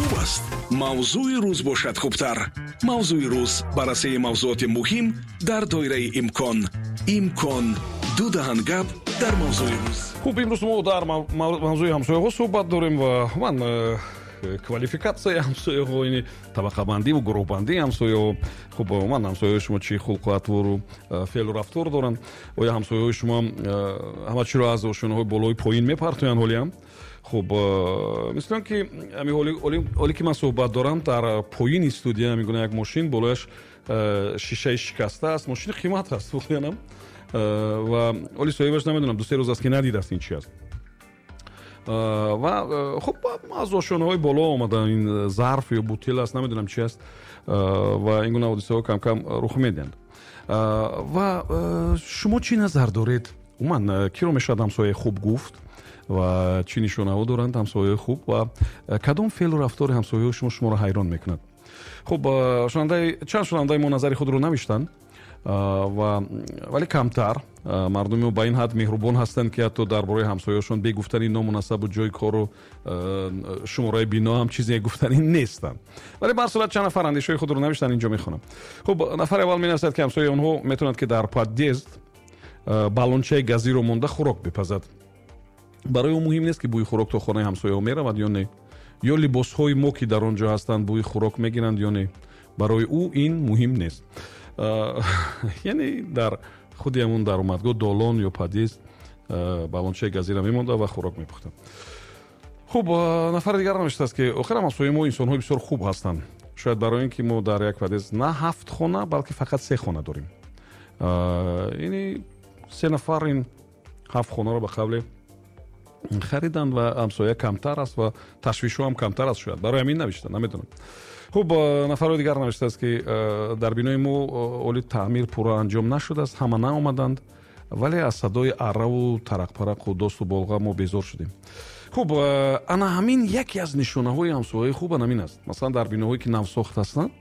Хуб аст, мавзӯи рӯз бошад хубтар. Мавзӯи рӯз: баррасии мавзӯоти муҳим дар доираи имкон. Имкон ду даҳан гап дар мавзӯи рӯз. Хуб, имрӯз мо дар мавзӯи ҳамсояҳо суҳбат дорем ва ман квалификатсияи ҳамсояҳо, ини табақабандиву гурӯҳбандии ҳамсояҳо. Хуб, ман ҳамсояҳои шумо чӣ хулқу атвору феълу рафтор доранд? Оё ҳамсояҳои шумо ҳама чиро аз ошёнаҳои болои поин мепартоянд ҳолиам? Хуб, мисли он ки ҳоле ки ман суҳбат дорам, дар поини студия ҳамин як мошин, болояш шишаи шикаста аст. Мошини қимат аст воқеанам, ва ҳоли соҳибаш намедонам, 2-се рӯз аст, ки надидааст, ин чи аст. Ва хуб, аз ошёнаҳои боло омада, ин зарф ё бутил аст, намедонам чи аст. Ва ин гуна ҳодисаҳо кам-кам рух медиҳанд. Ва шумо чӣ назар доред? Умуман, киро мешавад ҳамсояи хуб гуфт ва чӣ нишонаҳо доранд ҳамсояҳои хуб ва кадом феълу рафтори ҳамсояҳои шумо шуморо ҳайрон мекунад? Хуб, чанд шунавандаи мо назари худро навиштанд, ва вале камтар. Мардуми мо ба ин ҳад меҳрубон ҳастанд, ки ҳатто дар бораи ҳамсояҳошон бе гуфтани ному насабу ҷои кору шумораи бино ҳам чизе гуфтанӣ нестанд. Вале ба ҳар сурат чанд нафар андешаҳои худро навиштанд, инҷо мехонам. Хуб, нафари аввал менависад, ки ҳамсояи онҳо метавонад, ки дар подъезд баллончаи газиро монда хӯрок бипазад. Барои ӯ муҳим нест, ки бӯи хӯрок то хонаи ҳамсояҳо меравад ё не, ё либосҳои мо, ки дар он ҷо ҳастанд, бӯи хӯрок мегиранд ё не. Барои ӯ ин муҳим нест. Яъне дар худи ҳамун даромадгоҳ, долон ё подъезд баллончаи газира мемонда ва хӯрок мепухта. Хуб, нафари дигар навиштааст, ки охир ҳамсояи мо инсонҳои бисёр хуб ҳастанд. Шояд барои ин ки мо дар як подъезд на ҳафт хона, балки фақат се хона дорем. Яъне се нафар ин ҳафт хонаро ба қавле хариданд ва ҳамсоя камтар аст ва ташвишҳо ҳам камтар аст. Шояд барои ҳамин навишта, намедонам. Хуб, нафарҳои дигар навиштааст, ки дар бинои мо оли таъмир пурра анҷом нашудааст, ҳама наомаданд, вале аз садои арраву тарақпарақу досту болға мо безор шудем. Хуб, ана ҳамин яке аз нишонаҳои ҳамсояи хуб ҳамин аст. Масалан, дар биноҳое, ки навсохт ҳастанд,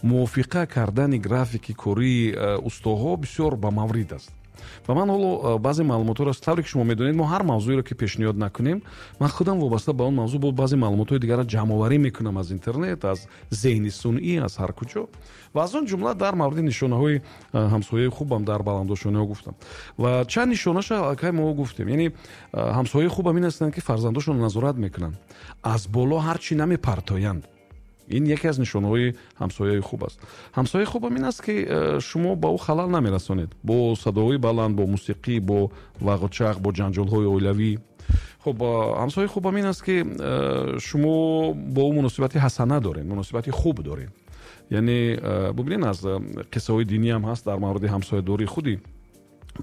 мувофиқа кардани графики кории устоҳо бисёр ба маврид аст. Ва ман ҳоло баъзе маълумотҳоро, тавре ки шумо медонед, мо ҳар мавзӯеро, ки пешниҳод накунем, ман худам вобаста ба он мавзӯъ бо баъзе маълумотҳои дигарро ҷамъоварӣ мекунам аз интернет, аз зеҳни сунъӣ, аз ҳар куҷо, ва аз он ҷумла дар мавриди нишонаҳои ҳамсояи хубам дар баландошониҳо гуфтам ва чанд нишонаша аллакай мо гуфтем. Яъне ҳамсояи хубам ин ҳастанд, ки фарзандошонро назорат мекунанд, аз боло ҳар чӣ намепартоянд. Ин яке аз нишонаҳои ҳамсояи хуб аст. Ҳамсояи хубам ин аст, ки шумо ба ӯ халал намерасонед бо садоҳои баланд, бо мусиқӣ, бо вағучақ, бо ҷанҷолҳои оилавӣ. Хуб, ҳамсояи хубам ин аст, ки шумо бо ӯ муносибати ҳасана доред, муносибати хуб доред. Яъне бубинед, аз қиссаҳои динӣ ҳам ҳаст дар мавриди ҳамсоядории. Худи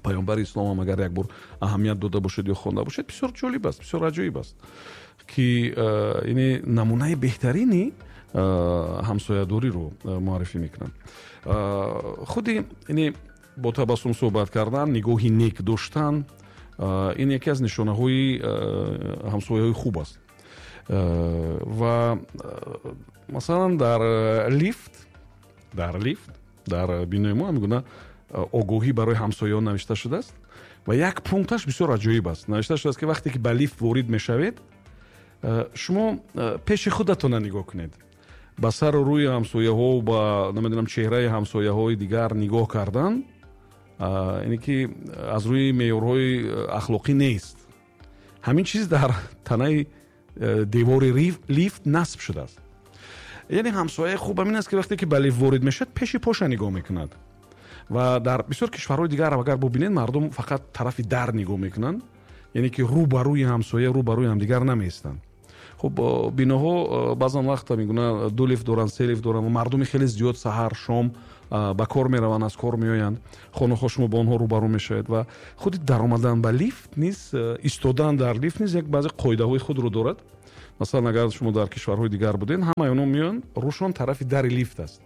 паёмбари ислом ҳам, агар як бор аҳамият дода бошед ё хонда бошед, бисёр ҷолиб аст, бисёр аҷоиб аст, ки яъне намунаи беҳтарини ҳамсоядориро муаррифӣ мекунанд. Худи яъне бо табассум суҳбат кардан, нигоҳи нек доштан, ин яке аз нишонаҳои ҳамсояҳои хуб аст. Ва масалан, дар лифт дар бинои мо ҳамин гуна огоҳӣ барои ҳамсояҳо навишта шудааст ва як пункташ бисёр аҷоиб аст. Навишта шудааст, ки вақте ки ба лифт ворид мешавед, шумо пеши худатона нигоҳ кунед. Ба сару рӯи ҳамсояҳо, ба намедонам, чеҳраи ҳамсояҳои дигар нигоҳ кардан, ине ки аз рӯи меъёрҳои ахлоқӣ нест. Ҳамин чиз дар танаи девори лифт насб шудааст. Яъне ҳамсояи хуб ҳамин аст, ки вақте ки ба лифт ворид мешавад, пеши поша нигоҳ мекунад. Ва дар бисёр кишварҳои дигар агар бубинед, мардум фақат тарафи дар нигоҳ мекунанд, яъне ки рӯ ба рӯи ҳамсоя, рӯ ба рӯи ҳамдигар намеистанд. Хуб, биноҳо баъзан вақт ҳамин ду лифт доранд, се лифт доранд ва мардуми хеле зиёд саҳар, шом ба кор мераванд, аз кор меоянд. Хонаҳо шумо бо онҳо рӯбарӯ мешавед ва худи даромадан ба лифт низ, истодан дар лифт низ як баъзе қоидаҳои худро дорад. Масалан, агар шумо дар кишварҳои дигар будед, ҳамаи онҳо меоянд, рӯшон тарафи дари лифт аст,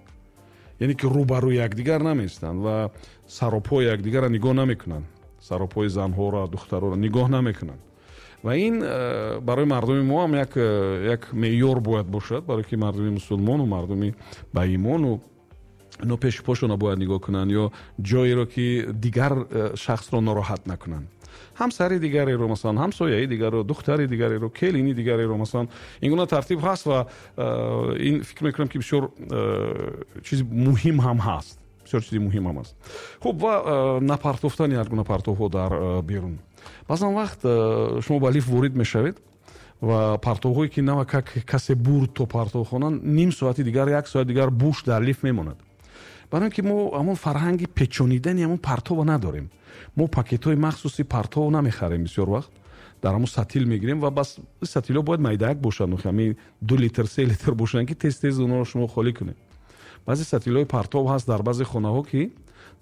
яъне ки рӯбарӯи якдигар намеистанд ва саропои якдигарро нигоҳ намекунанд, саропои занҳоро, духтароро нигоҳ намекунанд. Ва ин барои мардуми мо ҳам як меъёр бояд бошад, барое ки мардуми мусулмону мардуми баимону ино пеши пошона бояд нигоҳ кунанд ё ҷоеро, ки дигар шахсро нороҳат накунанд. Ҳамсари дигареро, масалан, ҳамсояи дигарро, духтари дигареро, келини дигареро, масалан, ин гуна тартиб ҳаст ва ин фикр мекунам, ки бисёр чизи муҳим ҳам ҳаст, бисёр чизи муҳим ҳам аст. Хуб, ва напартофтани ҳар гуна партовҳо дар берун. Баъзан вақт шумо ба лифт ворид мешавед ва партовҳое, ки навакак касе бурд то партовхона, ним соати дигар, як соат дигар буш дар лифт мемонад, барои ин ки мо ҳамон фарҳанги печонидани ҳамон партова надорем. Мо пакетҳои махсуси партов намехарем, бисёр вақт дар ҳамон сатил мегирем ва бас сатилҳо бояд майдаак бошанд, ҳамин 2 литр, 3 литр бошанд, ки тез тез онҳоро шумо холӣ кунед. Баъзе сатилҳои партов ҳаст дар баъзе хонаҳо, ки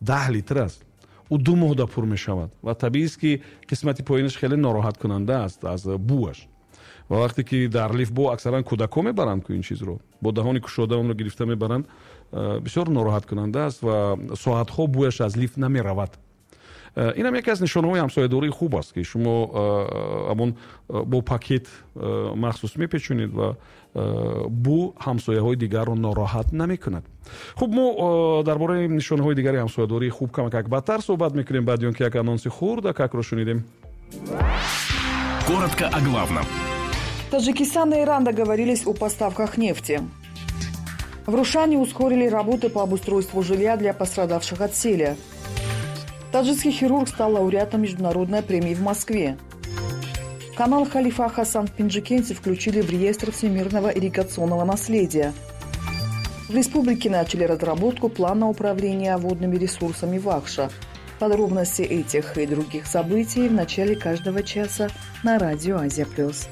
10 литр аст, ӯ 2 моҳда пур мешавад ва табиист, ки қисмати поинаш хеле нороҳаткунанда аст аз бӯаш. Ва вақте ки дар лифт бо аксаран кӯдакҳо мебаранд ку ин чизро, бо даҳони кушода онро гирифта мебаранд, бисёр нороҳаткунанда аст ва соатҳо бӯяш аз лифт намеравад. Инам яке аз нишонаҳои ҳамсоядории хуб аст, ки шумо ҳамон бо пакет махсус мепечонед ва бӯ ҳамсояҳои дигарро нороҳат намекунад. Хуб, мо дар бораи нишонаҳои дигари ҳамсоядории хуб камакак баъдтар суҳбат мекунем, баъди он ки як анонси хурдакакро шунидем. Коротко о главном. Таджикистан и Иран договорились о поставках нефти. В Рушане ускорили работы по обустройству жилья для пострадавших от сели. Таджикский хирург стал лауреатом международной премии в Москве. Канал Халифа Хасан в Пенджикенте включили в реестр всемирного ирригационного наследия. В республике начали разработку плана управления водными ресурсами Вахша. Подробности этих и других событий в начале каждого часа на радио «Азия плюс».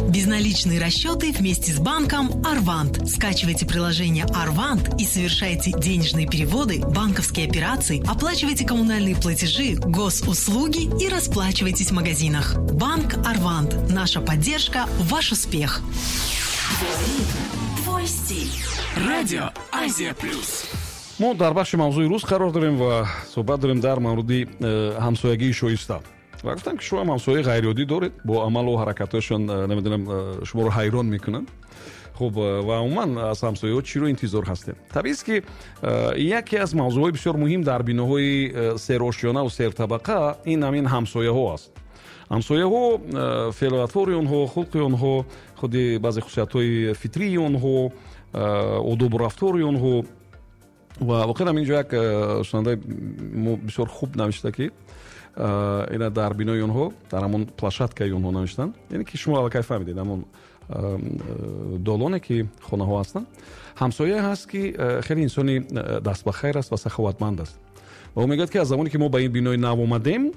Безналичные расчеты вместе с банком «Арвант». Скачивайте приложение «Арвант» и совершайте денежные переводы, банковские операции, оплачивайте коммунальные платежи, госуслуги и расплачивайтесь в магазинах. Банк «Арвант». Наша поддержка – ваш успех. Твой ритм, твой стиль. Радио Азия Плюс. Мо дар бахши мавзӯи рӯз қарор дорем ва суҳбат дорем дар мавриди ҳамсоягии шоиста. Ва гуфтам, ки шумо ҳам ҳамсояи ғайриоддӣ доред, бо амалу ҳаракатҳояшон, намедонам, шуморо ҳайрон мекунанд. Хуб, ва умуман аз ҳамсояҳо чиро интизор ҳастем? Табиист, ки яке аз мавзӯъҳои бисёр муҳим дар биноҳои серошёнаву сертабақа ин ҳамин ҳамсояҳо аст. Ҳамсояҳо, феълу атвори онҳо, хулқи онҳо, худи баъзе хусусиятҳои фитрии онҳо, одобу рафтори онҳо. Ва воқеан ҳам инҷо як шунавандаи мо бисёр хуб навишта, ки ина дар бинои онҳо, дар ҳамон площадкаи онҳо навиштанд, яъне ки шумо аллакай фаҳмидед, ҳамон долоне, ки хонаҳо ҳастанд, ҳамсояе ҳаст, ки хеле инсони дастбахайр аст ва саховатманд аст. Ва ӯ мегӯяд, ки аз замоне ки мо ба ин бинои нав омадем,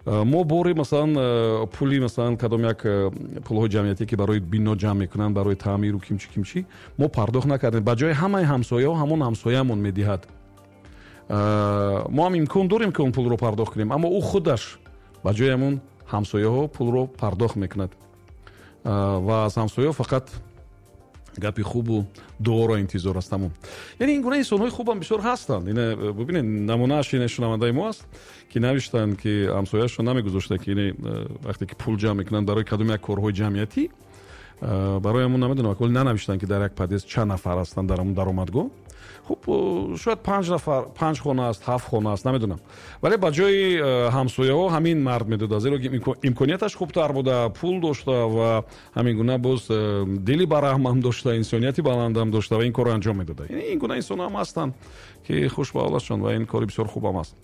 мо бори, масалан, пули, масалан, кадом як пулҳои ҷамъиятие, ки барои бино ҷамъ мекунанд, барои таъмиру кимчи кимчи, мо пардохт накардем. Ба ҷои ҳамаи ҳамсояҳо ҳамон ҳамсоямон медиҳад. Мо ҳам имкон дорем, ки он пулро пардохт кунем, аммо ӯ худаш ба ҷои ҳамон ҳамсояҳо пулро пардохт мекунад ва аз ҳамсояҳо фақат гапи хубу дуоро интизор аст, тамом. Яъне ин гуна инсонҳои хубам бисёр ҳастанд. Ина бубинед, намунааш ина шунавандаи мо аст, ки навиштанд, ки ҳамсояашон намегузошта, ки ин вақте ки пул ҷамъ мекунанд барои кадом як корҳои ҷамъиятӣ, барои ҳамон, намедонам, вале нанавиштанд, ки дар як подъезд чанд нафар ҳастанд дар ҳамон даромадгоҳ. Хуб, шояд панҷ нафар, панҷ хона аст, ҳафт хона аст, намедонам, вале ба ҷои ҳамсояҳо ҳамин мард медода, зеро ки имконияташ хубтар буда, пул дошта ва ҳамин гуна боз дили бараҳмам дошта, инсонияти баландам дошта ва ин корро анҷом медода. Ин гуна инсонҳо ҳам ҳастанд, ки хуш ба ҳолашон, ва ин кори бисёр хубам аст.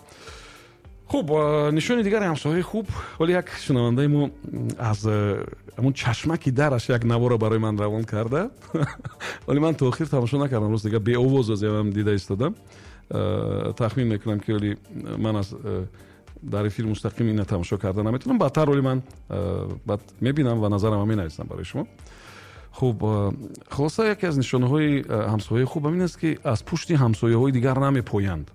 Хуб, нишони дигари ҳамсояи хуб, вале як шунавандаи мо аз ҳамон чашмаки дараш як навора барои ман равон карда, вале ман то охир тамошо накардам, рост дига, беовоз аз ям дида истодам. Тахмин мекунам, ки оли ман аз дар эфир мустақим ина тамошо карда наметавонам. Баъдтар оли ман баъд мебинам ва назарамро менависам барои шумо. Хуб, хулоса, яке аз нишонаҳои ҳамсояи хуб ҳамин аст, ки аз пушти ҳамсояҳои дигар намепоянд,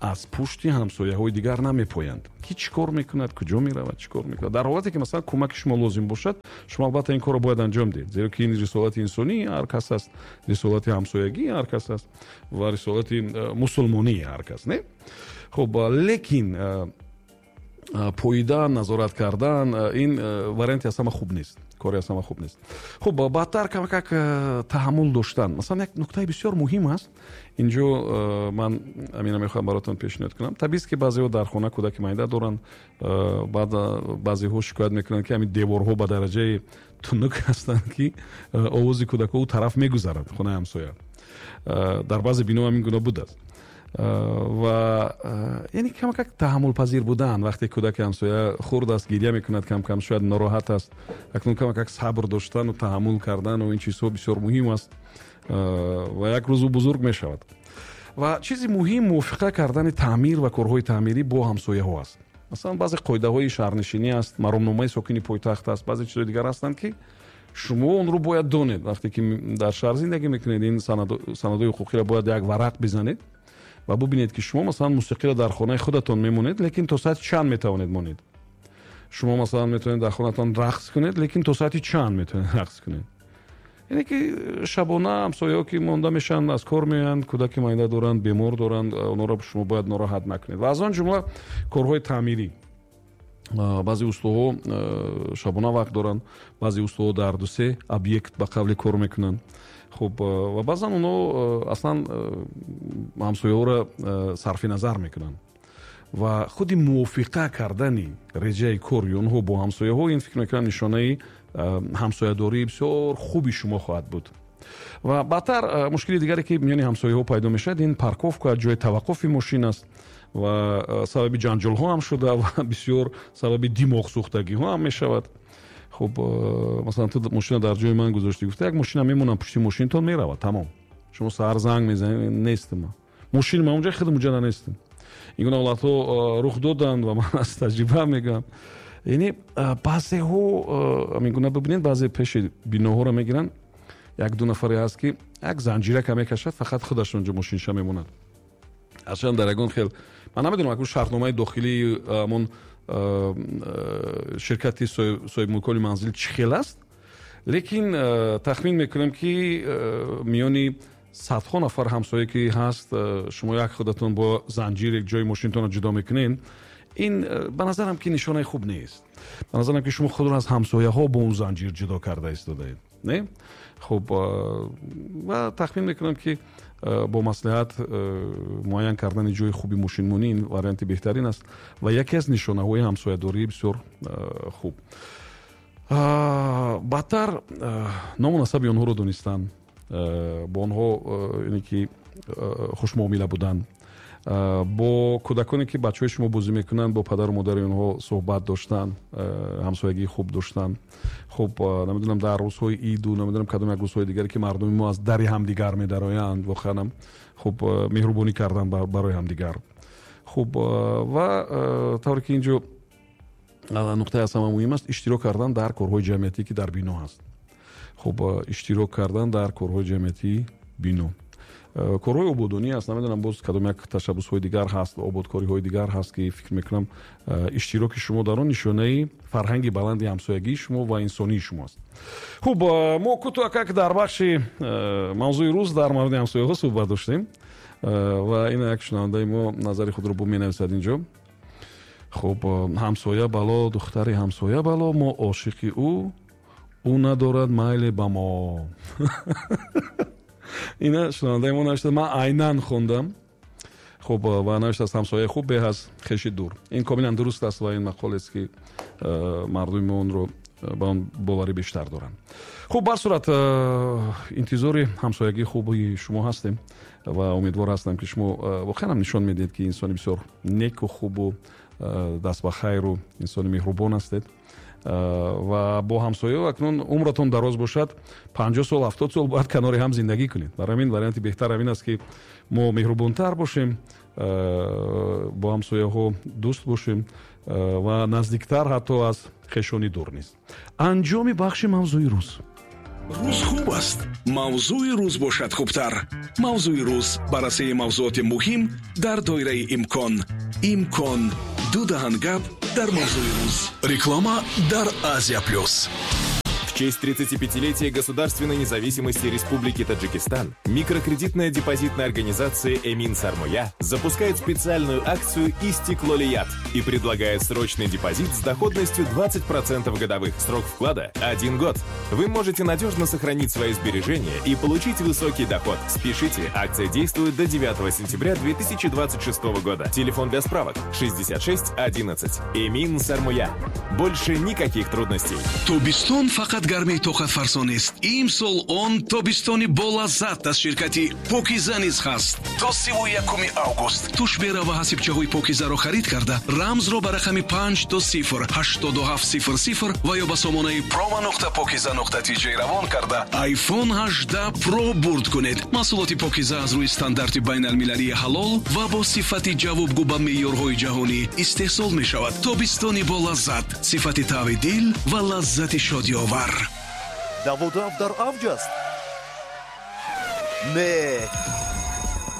аз пушти ҳамсояҳои дигар намепоянд, ки чӣ кор мекунад, куҷо меравад, чӣ кор мекунад. Дар ҳолате ки, масалан, кӯмаки шумо лозим бошад, шумо албатта ин корро бояд анҷом диҳед, зеро ки ин рисолати инсонии ҳар кас аст, рисолати ҳамсоягии ҳар кас аст ва рисолати мусулмонии ҳар кас, не? Хуб, лекин Поидан, назорат кардан, ин варианти аз ҳама хуб нест, кори аз ҳама хуб нест. Хуб, баъдтар камакак таҳаммул доштан. Масалан, як нуктаи бисёр муҳим аст инҷо, ман амина мехоҳам баротон пешниҳод кунам. Табиист, ки баъзеҳо дар хона кӯдаки майда доранд, баъд баъзеҳо шикоят мекунанд, ки ҳамин деворҳо ба дараҷаи тунук ҳастанд, ки овози кӯдакҳо ӯ тараф мегузарад, хонаи ҳамсоя. Дар баъзе бино ҳамин гуна будааст. Ва яъне камакак таҳаммулпазир будан, вақте кӯдаки ҳамсоя хурд аст, гиря мекунад, кам-кам шояд нороҳат аст, акнун камакак сабр доштану таҳаммул кардану ин чизҳо бисёр муҳим аст, ва як рӯз ӯ бузург мешавад. Ва чизи муҳим мувофиқа кардани таъмир ва корҳои таъмирӣ бо ҳамсояҳо аст. Масалан, баъзе қоидаҳои шаҳрнишинӣ аст, маромномаи сокини пойтахт аст, баъзе чизҳои дигар ҳастанд, ки шумо онро бояд донед. Вақте ки дар шаҳр зиндагӣ мекунед, ин санадҳои ҳуқуқиро бояд як варақ бизанед ва бубинед, ки шумо, масалан, мусиқиро дар хонаи худатон мемонед, лекин то соати чанд метавонед монед. Шумо, масалан, метавонед дар хонатон рақс кунед, лекин то соати чанд метавонед рақс кунед. Яъне ки шабона ҳамсояҳо ки монда мешаванд, аз кор меоянд, кӯдаки майда доранд, бемор доранд, онҳоро шумо бояд нороҳат накунед. Ва аз он ҷумла корҳои таъмирӣ. Баъзе устоҳо шабона вақт доранд, баъзе устоҳо дар 2-3 объект ба қавли кор мекунанд. Хуб, ва баъзан онҳо аслан ҳамсояҳоро сарфи назар мекунанд. Ва худи мувофиқа кардани реҷаи кори онҳо бо ҳамсояҳо, ин фикр мекунам нишонаи ҳамсоядории бисёр хуби шумо хоҳад буд. Ва баъдтар мушкили дигаре, ки миёни ҳамсояҳо пайдо мешавад, ин парковка, ҷои таваққуфи мошин аст ва сабаби ҷанҷолҳо ҳам шуда ва бисёр сабаби димоғсӯхтагиҳо ҳам мешавад. Хуб, масалан, ту мошина дар ҷои ман гузоштӣ, гуфта, як мошина мемонам пушти мошинтон, меравад, тамом. Шумо саҳар занг мезанед, нестам, мошини ман унҷа, худам унҷа нестам. Ин гуна ҳолатҳо рух доданд ва ман аз таҷриба мегӯям. Яъне баъзеҳо ҳамин гуна, бибинед, баъзе пеши биноҳоро мегиранд, 1-2 нафаре ҳаст, ки як занҷирака мекашад, фақат худаш онҷо мошинша мемонад. Ҳарчанд дар ягон хел ман намедонам, акун шартномаи дохилии ҳамон ширкати соҳибмулкони манзил чӣ хел аст, лекин тахмин мекунам, ки миёни садҳо нафар ҳамсоя ки ҳаст, шумо як худатон бо занҷир ҷои мошинтонро ҷудо мекунед, ин ба назарам ки нишонаи хуб нест. Ба назарам ки шумо худро аз ҳамсояҳо бо он занҷир ҷудо карда истодаед, не? Хуб, ва тахмин мекунам, ки бо маслиҳат муайян кардани ҷои хуби мошинмонӣ ин варианти беҳтарин аст ва яке аз нишонаҳои ҳамсоядории бисёр хуб. Баъдтар ному насаби онҳоро донистан, бо онҳо яъне ки хушмуомила будан, бо кӯдаконе ки бачаҳои шумо бозӣ мекунанд, бо падару модари онҳо суҳбат доштан, ҳамсоягии хуб доштан. Хуб, намедонам, дар рӯзҳои иду, намедонам, кадом як рӯзҳои дигаре ки мардуми мо аз дари ҳамдигар медароянд, воқеанам хуб, меҳрубонӣ кардан барои ҳамдигар. Хуб, ва тавре ки инҷо нуқтаи аз ҳама муҳим аст, иштирок кардан дар корҳои ҷамъиятӣ, ки дар бино ҳаст. Хуб, иштирок кардан дар корҳои ҷамъиятии бино, корҳои ободонӣ аст, намедонам, боз кадом як ташаббусҳои дигар ҳаст, ободкориҳои дигар ҳаст, ки фикр мекунам иштироки шумо дар он нишонаи фарҳанги баланди ҳамсоягии шумо ва инсонии шумо аст. Хуб, мо кӯтоҳакак дар бахши мавзӯи рӯз дар мавриди ҳамсояҳо суҳбат доштем ва ин як шунавандаи мо назари худро бо менависад инҷо. Хуб, ҳамсоя бало, духтари ҳамсоя бало, мо ошиқи ӯ, ӯ надорад майле ба мо. Ина шунавандаи мо навишта, ман айнан хондам. Хуб, ва навиштааст: ҳамсояи хуб беҳ аз хеши дур. Ин комилан дуруст аст ва ин мақолест, ки мардуми мо онро ба он боварӣ бештар доранд. Хуб, бар сурат интизори ҳамсоягии хуби шумо ҳастем ва умедвор ҳастам, ки шумо воқеан ҳам нишон медиҳед, ки инсони бисёр неку хубу даст ба хайру инсони меҳрубон ҳастед ва бо ҳамсояҳо акнун умратон дароз бошад, 50 сол, 70 сол бояд канори ҳам зиндагӣ кунед. Барои ҳамин варианти беҳтар ҳамин аст, ки мо меҳрубонтар бошем, бо ҳамсояҳо дӯст бошем ва наздиктар ҳатто аз хешони дур низ. Анҷоми бахши мавзӯи рӯз. Рӯз хуб аст, мавзӯи рӯз бошад хубтар. Мавзӯи рӯз: баррасии мавзӯоти муҳим дар доираи имкон. Имкон: ду даҳан гап дар мавзӯи рӯз. Реклама дар Азия Плюс. В честь 35-летия государственной независимости Республики Таджикистан микрокредитная депозитная организация «Эмин Сармоя» запускает специальную акцию «Истиклолият» и предлагает срочный депозит с доходностью 20% годовых. Срок вклада – 1 год. Вы можете надежно сохранить свои сбережения и получить высокий доход. Спешите, акция действует до 9 сентября 2026 года. Телефон для справок 66 11. «Эмин Сармоя». Больше никаких трудностей. Тобистон фақат гармии тоқатфарсо нест. Имсол он тобистони болаззат аз ширкати Покиза низ ҳаст. То 31 август тушбера ва ҳасибчаҳои Покизаро харид карда, рамзро ба рақами 5 до 0 87 00 ва ё ба сомонаи promo.pokiza.tj равон карда, iPhone 18 Pro бурд кунед. Маҳсулоти Покиза аз рӯи стандарти байналмилалии ҳалол ва бо сифати ҷавобгӯ ба меъёрҳои ҷаҳонӣ истеҳсол мешавад. Тобистони болаззат, сифати тави дил ва лаззати шодиовар. Даводав дар авҷ аст? Не,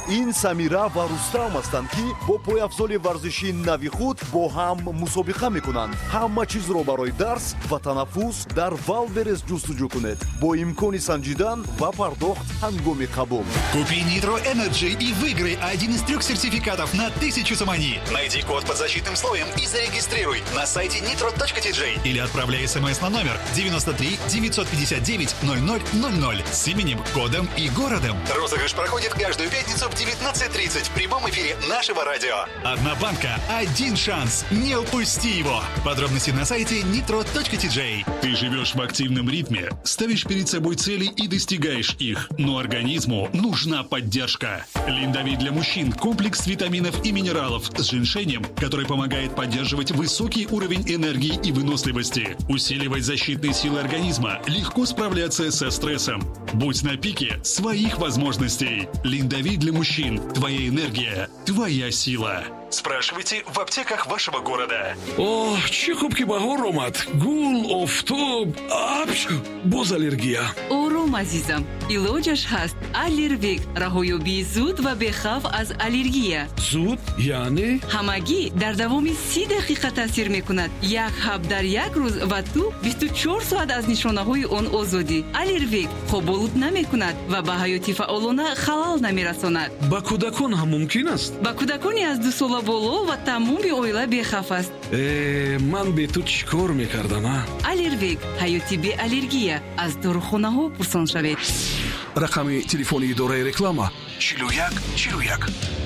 ин Самира ва Рустам ҳастанд, ки бо пойафзоли варзишии нави худ бо ҳам мусобиқа мекунанд. Ҳама чизро барои дарс ва танаффус дар Валберес ҷустуҷӯ кунед, бо имкони санҷидан ва пардохт ҳангоми қабул. Купи Nitro Energy и выиграй один из трех сертификатов на 1000 сомони. Найди код под защитным слоем и зарегистрируй на сайте nitro.tj или отправляй смс на номер 93 959 0000 с именем, кодом и городом. Розыгрыш проходит каждую пятницу в 19:30 в прямом эфире нашего радио. Одна банка, один шанс. Не упусти его. Подробности на сайте nitro.tj. Ты живешь в активном ритме, ставишь перед собой цели и достигаешь их. Но организму нужна поддержка. Линдовит для мужчин – комплекс витаминов и минералов с женьшенем, который помогает поддерживать высокий уровень энергии и выносливости, усиливать защитные силы организма, легко справляться со стрессом. Будь на пике своих возможностей. Линдовит для мужчин. Твоя энергия, твоя сила. Спрашивайте в аптеках вашего города. Оҳ, чӣ хуб, ки баҳор омад. Гул, офтоб, апч, боз аллергия. Ором, азизам, илоҷаш ҳаст. Аллервек — раҳоёбии зуд ва бехавф аз аллергия. Зуд яъне? Ҳамагӣ дар давоми 30 дақиқа таъсир мекунад. Як ҳаб дар як рӯз, ва ту 24 соат аз нишонаҳои он озодӣ. Аллервек хоболуд намекунад ва ба ҳаёти фаъолона халал намерасонад. Ба кӯдакон ҳам мумкин аст? Ба кӯдакони аз 2 сола боло ва тамоми оила бехавф аст. Э, ман бе ту чӣ кор мекардам, а? Аллервек — ҳаёти беаллергия. Аз дорухонаҳо пурсон шавед. Рақами телефони идораи реклама: 41 41.